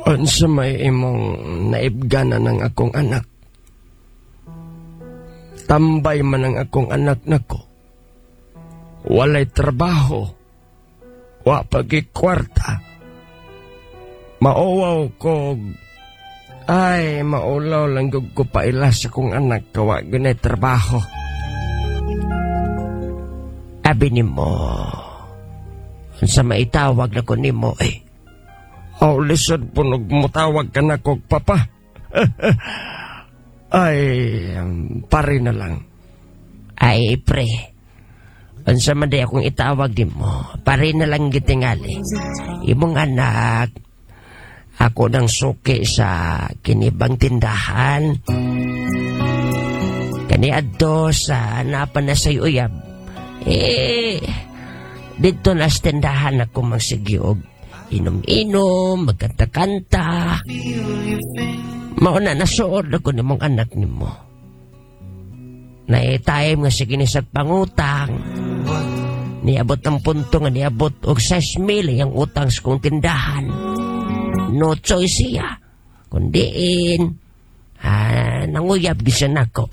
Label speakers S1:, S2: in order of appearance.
S1: Unsa may imong naibganan ng akong anak? Tambay man ang akong anak nako. Walay trabaho. Wa pagi kwarta. Mauwaw ko. Ay, maulaw lang gud ko paila sa akong anak kawa gunay trabaho. Abi nimo. Unsa maitawag na ko nimo eh? Oh, lisod po mutawag ka na kog papa. Ay, pare na lang. Ay, pre. Unsa man day akong itawag nimo? Pare na lang gitingali. Imong anak, ako nang suki sa kinibang tindahan. Kani adto sa napa na sa uyab. Eh, dito na sa tindahan ako magsigiog. Inom-inom, magkanta-kanta. Mauna nasuod ako nimong anak nimo. Na time nga sige ni sa pangutang. Niabot ang punto nga niabot og 6 mil ang utang sa kong tindahan. No choice siya. Kundiin, nanguyab di siya nako.